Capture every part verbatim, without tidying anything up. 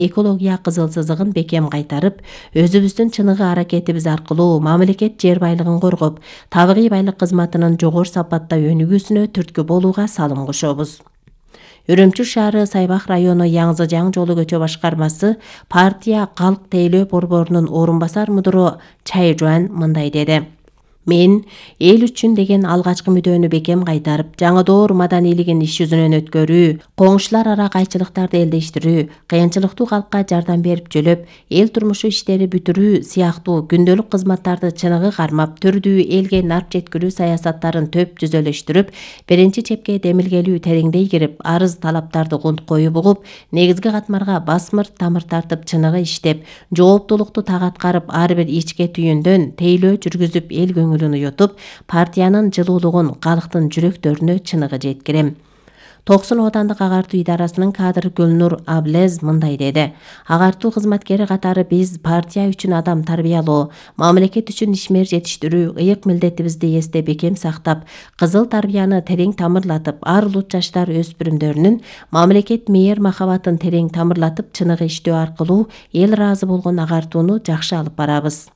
экология кызыл сызыгын бекем кайтарып, өзүбүздүн чыныгы аракетибиз аркылуу мамлекет жер байлыгын коргоп, табигый байлык кызматынын жогору сапатта өнүгүүсүнө түрткү болууга салым кошобуз. Үрүмчү шаары Сайбак району Яңзы Жаң жолу көчө башкармасы партия калк тейлөө борборунун орун басар мудуру Чай Жуан мындай деди. Мен эл үчүн деген алгачкы мүдөнү бекем кайтарып, жаңы доор маданилигин иш жүзүнөн өткөрүү, коңшулар ара кайчылыктарды элдештирүү, кыйынчылыктуу калкка жардам берип жөлөп, эл турмушу иштери бүтүрүү сыяктуу күндөлүк кызматтарды чыныгы кармап, түрдүү элге нарп жеткирүү саясаттарын төп түзөлөштүрүп, биринчи чепке демилгелүү тереңдей кирип, арыз талаптарды кою бугуп, негизги катмарга басмырт тамыр тартып чыныгы иштеп, жооптуулукту так аткарып, ар бир ичке түйүндөн тейлөө жүргүзүп, эл көңүлүн уютуп, партиянын жылуулугун калктын жүрөктөрүнө чыныгы жеткирем. Токсон Оодандык агартуу идарасынын кадры Гүлнур Аблез мындай деди. Агартуу кызматкери катары биз партия үчүн адам тарбиялоо, мамлекет үчүн ишмер жетиштирүү, ыйык милдетибизди эсте бекем сактап, кызыл тарбияны терең тамырлатып, ар улут жаштар өспүрүмдөрүнүн мамлекет мээр махабатын терең тамырлатып, чыныгы иштөө аркылуу эл ыраазы болгон агартууну жакшы алып барабыз.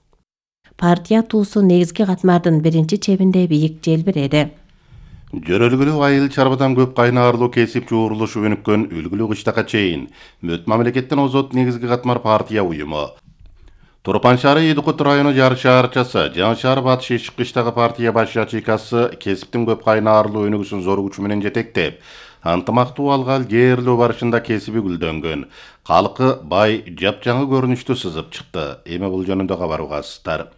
Партия туусу негизги катмардын биринчи чебинде бийик желбиреди. Жөрөлгүлүү айыл чарбадан көп кайнаарлуу кесип жуурулушу өнүккөн үлгүлүү кыштакка чейин мөт мамлекеттен озот негизги катмар партия уюму. Турпан шаары Эдикут району Жар шаарчасы, Жаңы шаар Батыш Эшик кыштагы партия баш ячейкасы кесиптин көп кайнаарлуу өнүгүүсүн зор күч менен жетектеп, ынтымактуу алгал жээрлөө барышында кесиби гүлдөнгөн, калкы бай жапжаңы көрүнүштү сызып чыкты. Эми бул жөнүндө кабар угасыздар.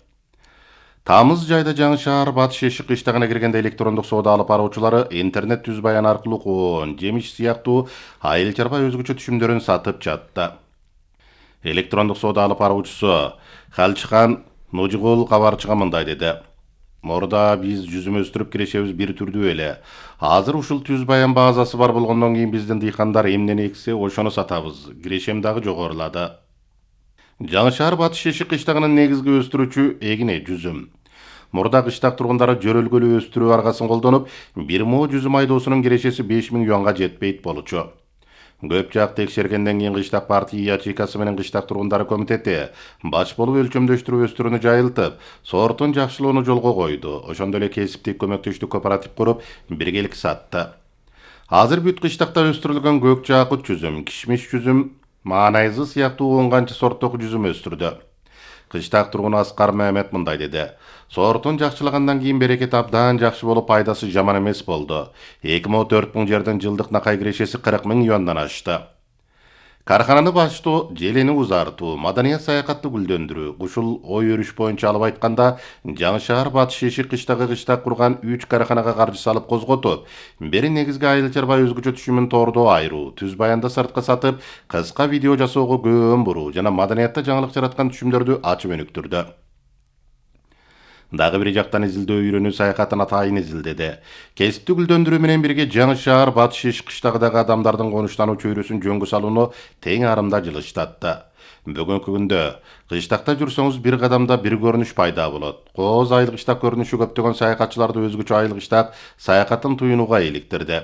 Тамыз жайда Жаңы шаар Батыш Эшик кыштагына киргенде электрондук соода алып баруучулары интернет түз баян аркылуу коон, жемиш сыяктуу айыл чарба өзгөчө түшүмдөрүн сатып жатты. Электрондук соода алып баруучусу Халчыхан Ножигул кабарчыга мындай деди. Мурда биз жүзүм өстүрүп кирешебиз бир түрдүү эле. Азыр ушул түз баян базасы бар болгондон кийин биздин дыйкандар эмнени эксе, ошону сатабыз. Кирешем дагы жогорулады. Жаңы шаар Батыш Эшик кыштагынын негизги өстүрүүчү эгине жүзүм. Мурда кыштак тургундары жөрөлгөлүү өстүрүү аргасын колдонуп, бир мо жүзүм айдоосунун кирешеси беш миң юанга жетпейт болчу. Көп жак текшергенден кийин кыштак партия ячейкасы менен кыштак тургундары комитети баш болуп өлчөмдөштүрүү өстүрүүнү жайылтып, сортун жакшылоону жолго койду. Ошондой эле кесиптик көмөктөштүк кооператив куруп, биргелик сатты. Азыр бүт кыштакта өстүрүлгөн көк жаакут жүзүм, кишмиш жүзүм, маанайзы сыяктуу он канча сорттогу жүзүм өстүрдү. Кыштак тургуну Аскар Мehmet мындай деди. Сортун жакшылагандан кийин берекет абдан жакшы болуп, пайдасы жаман эмес болду. эки миң төрт миң жерден жылдык накай кирешеси кырк миң юандан ашты. Кархананы баштоо, желени узартуу, маданият саякатты гүлдөндүрүү, ушул ой өрүш боюнча алып айтканда, Жаңы шаар Батыш Эшик кыштагы кыштак курган үч карханага каржы салып козготуп, бери негизги айыл чарба өзгөчө түшүмүн тоордо айыруу, түз баянды сыртка сатып, кыска видео жасоого көөн буруу жана маданиятта жаңылык жараткан түшүмдөрдү ачып өнүктүрдү. Дагы бир жактан изилдөө үйрөнүү саякатын атайын изилдеди. Кесипти гүлдөндүрүү менен бирге Жаңы шаар Батыш Эшик кыштагыдагы адамдардын конуштануу чөйрөсүн жөнгө салууну тең арымда жылыштатты. Бүгүнкү күндө кыштакта жүрсөңүз бир кадамда бир көрүнүш пайда болот. Кооз айыл кыштак көрүнүшү көптөгөн саякатчыларды өзгөчө айыл кыштак саякатын туюнууга иликтирди.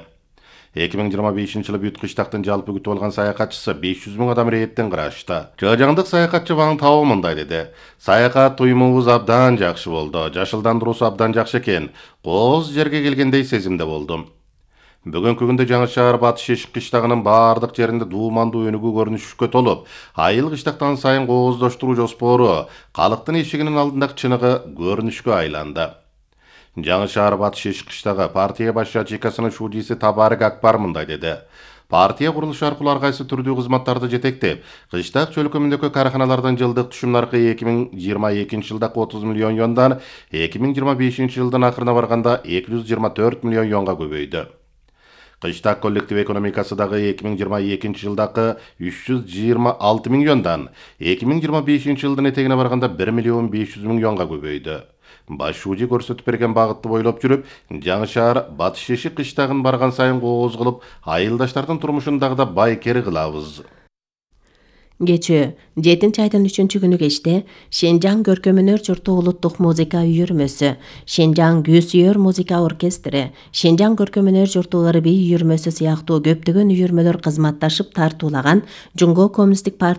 эки миң жыйырма бешинчи жылы бүт кыштактын жалпы күтүп алган саякатчысы беш жүз миң адам рейдтен кырашты. Жыжаңдык саякатчы Ваң Тао мындай деди. Саякат туюмубуз абдан жакшы болду. Жашылдандыруусу абдан жакшы экен. Кооз жерге келгендей сезимде болдум. Бүгүнкү күндө Жаңы шаар Батыш Эшик кыштагынын баардык жеринде дуумандуу өнүгүү көрүнүшкө толуп, айыл кыштактан сайын кооздоштуруу жоспору калктын эшигинин алдындагы чыныгы көрүнүшкө айланды. Жаңы шаар Батыш Эшик кыштагы партия баш ячейкасынын шуудиси Табарык Акбар мындай деди. Партия курулушу аркылуу ар кайсы түрдүү кызматтарды жетектеп, кыштак чөлкөмүндөгү карханалардын жылдык түшүм наркы эки миң жыйырма экинчи жылдагы отуз миллион юандан эки миң жыйырма бешинчи жылдын акырына барганда эки жүз жыйырма төрт миллион юанга көбөйдү. Кыштак коллектив экономикасы дагы эки миң жыйырма экинчи жылдагы үч жүз жыйырма алты миң юандан эки миң жыйырма бешинчи жылдын этегине барганда бир миллион беш жүз миң юанга көбөйдү. Баш шууди көрсөтүп берген багытты бойлоп жүрүп, Жаңы шаар Батыш Эшик кыштагын барган сайын кооз кылып, айылдаштардын турмушун дагы да байкер кылабыз. Кечээ жетинчи айдын үчүнчү күнү кечте Шенжаң көркөм-өнөр журту улуттук музыка үйүрмөсү, Шенжаң күүсүйөр музыка оркестри, Шенжаң көркөм-өнөр журту ырбий үйүрмөсү сыяктуу көптөгөн үйүрмөлөр кызматташып тартуулаган Жумго коммунисттик партия